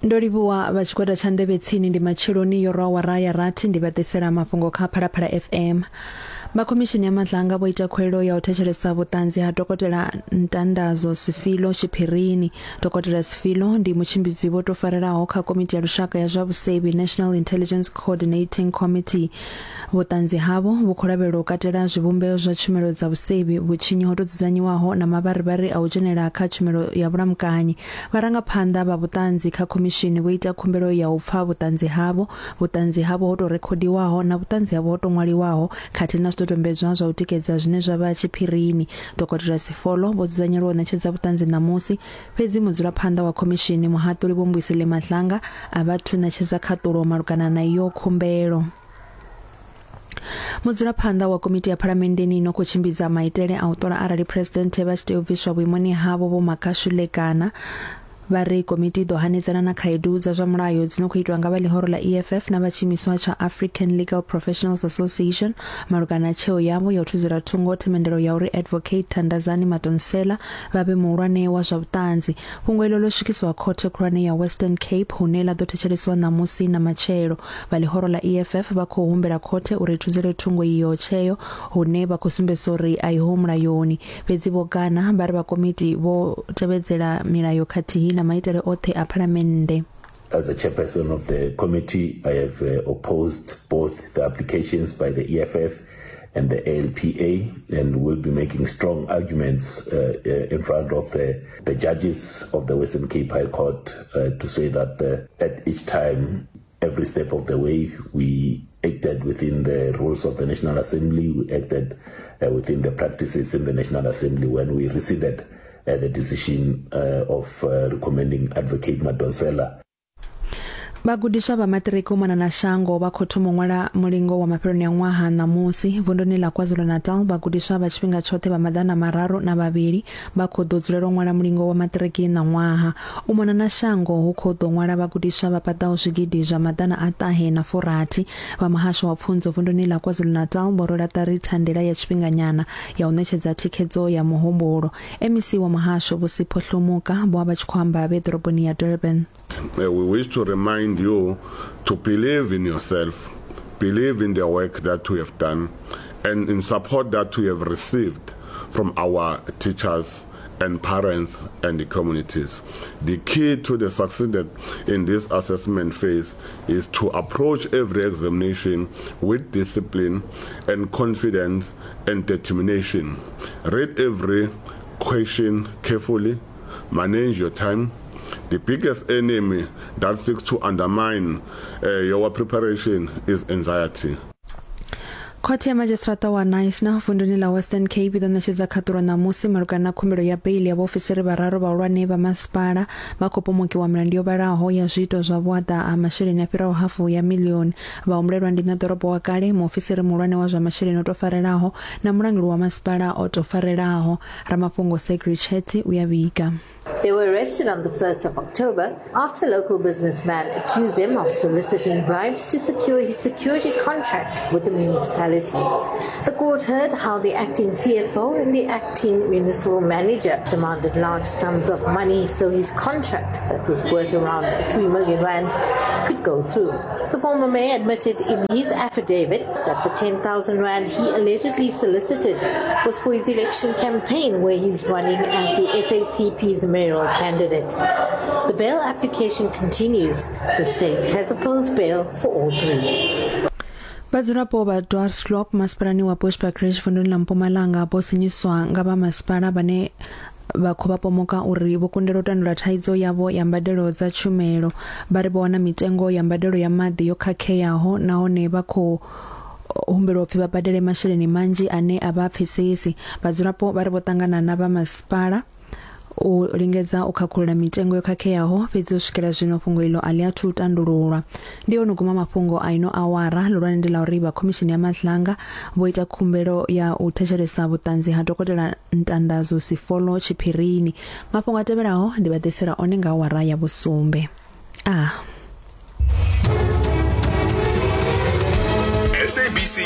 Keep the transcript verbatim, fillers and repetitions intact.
Ndo livhuwa vha tshigwada tsha nḓevhe tsini ndi matsheloni yo rwa awara ya rathi ndi vha ḓisela mafhungo kha Phalaphala F M. Vha khomishini ya Madlanga vho ita khuwelelo ya u thetshelesa vhuṱanzi ha Dokotela Ntandazo Sifilo tshiphirini. Dokotela Sifilo ndi mutshimbidzi vho tou farelaho kha komiti ya lushaka ya zwa vhusevhi National Intelligence Coordinating Committee. Vhuṱanzi havho vhu khou lavhelelwa u katela zwivhumbeo zwa tshumelo dza vhusevhi, vhutshinyi ho tou dzudzanyiwaho na mavharivhari a u dzhenela kha tshumelo ya vhulamukanyi. Vharangaphanḓa vha vhuṱanzi kha khomishini vho ita khumbelo ya u pfa vhuṱanzi havho, vhuṱanzi havho ho tou rekhodiwaho na vhuṱanzi havho ho tou ṅwaliwaho khathihi na zwidodombedzwa zwa u tikedza zwine zwa vha tshiphirini. Dokotela Sifolo vho dzudzanyelwa u ṋetshedza vhuṱanzi ṋamusi, fhedzi mudzulaphanḓa wa khomishini muhaṱuli Vho Mbuyiseli Madlanga a vha thu ṋetshedza khaṱulo malugana na iyo khumbelo. Mudzulaphanḓa wa komiti ya phalamenndeni ino khou tshimbidza maitele a u ṱola arali presidenthe vha tshi tea u bviswa vhuimoni havho Vho Makashule Gana vha ri komiti i ḓo hanedzana na khaedu dza zwa mulayo dzi no khou itwa nga vha ḽihoro ḽa E F F na vha tshiimiswa tsha African Legal Professionals Association malugana na tsheo yavho ya u thudzela thungo themendelo ya uri Advocate Thandazani Madonsela vha vhe muhulwane wa zwa vhuṱanzi. Fhungo iḽo ḽo swikiswa khothe khulwane ya Western Cape hune ḽa ḓo thetshelesiwa ṋamusi na matshelo. Vha ḽihoro ḽa E F F vha khou humbela khothe uri i thudzele thungo iyo tsheo hune vha khou sumbedzisa uri a iho mulayoni. Fhedzi Vho Gana vha ri vha komiti vho tevhedzela milayo khathihi na maitele oṱhe a phalamennde. As a chairperson of the committee, I have uh, opposed both the applications by the E F F and the A L P A, and will be making strong arguments uh, uh, in front of the, the judges of the Western Cape High Court uh, to say that uh, at each time, every step of the way, we acted within the rules of the National Assembly, we acted uh, within the practices in the National Assembly when we rescinded Uh, the decision uh, of uh, recommending Advocate Madonsela. Vhagudiswa vha maṱiriki u mona na shango vha khou thoma u ṅwala mulingo wa mafheloni a ṅwaha ṋamusi. Vunduni ḽa KwaZulu-Natal vhagudiswa vha tshifhinga tshoṱhe vha maḓana mararu na vhavhili vha khou ḓo dzulela u ṅwala mulingo wa maṱiriki ṋaṅwaha. U mona na shango hu khou ḓo ṅwala vhagudiswa vha paḓaho zwigidi zwa maḓana a ṱahe na furathi. Vha muhasho wa pfunzo vunduni ḽa KwaZulu-Natal vho rwela ṱari thandela ya tshifhinganyana ya u ṋetshedza thikhedzo ya muhumbulo. M E C wa muhasho Vho Sipho Hlomuka vho vha vha tshi khou amba vhe ḓoroboni ya Durban. Uh, we wish to remind you to believe in yourself, believe in the work that we have done, and in support that we have received from our teachers and parents and the communities. The key to the success in this assessment phase is to approach every examination with discipline and confidence and determination. Read every question carefully, manage your time. The biggest enemy that seeks to undermine uh, your preparation is anxiety. Khothe ya madzhisiṱiraṱa wa Knysna vunduni ḽa Western Cape i ḓo ṋetshedza khaṱulo ṋamusi malugana na khumbelo ya beili ya vhaofisiri vhararu vhahulwane vha masipala vha khou pomokiwa milandu yo vhalaho ya zwiito zwa vhuaḓa ha masheleni a fhiraho hafu ya miḽioni. Vhahumbulelwa ndi ṋaḓorobo wa kale, muofisiri muhulwane wa zwa masheleni o tou farelaho na mulanguli wa masipala o tou farelaho. Ramafhungo Segri Chetsi u ya vhiga. They were arrested on the first of October after a local businessman accused them of soliciting bribes to secure his security contract with the municipality. The court heard how the acting C F O and the acting municipal manager demanded large sums of money so his contract, that was worth around three million rand, could go through. The former mayor admitted in his affidavit that the ten thousand rand he allegedly solicited was for his election campaign, where he's running as the S A C P's mayoral candidate. The bail application continues. The state has opposed bail for all three. Vhadzulapo vha Dwarsloop masipalani wa Bushbuckridge vunduni ḽa Mpumalanga vho sinyiswa nga vha masipala vhane vha khou vha pomoka uri vho kundelwa u tandulula thaidzo yavho ya mbadelo dza tshumelo. Vha ri vho wana mitengo ya mbadelo ya maḓi yo khakheaho nahone vha khou humbelwa upfi vha badele masheleni manzhi ane a vha pfesesi. Vhadzulapo vha ri vho ṱangana na vha masipala u lingedza u khakhulula mitengo yo khakheaho, fhedzi u swikela zwino fhungo ilo a ḽi athu tandululwa. Ndi hone guma mafhungo a ino awara. Ḽihulwane ndi ḽa uri vha khomishini ya Madlanga vho ita khumbelo ya u thetshelesa vhuṱanzi ha Dokotela Ntandazo Sifolo tshiphirini. Mafhungo a tevhelaho ndi vha ḓisela one nga awara ya vhusumbe. Ah. S A B C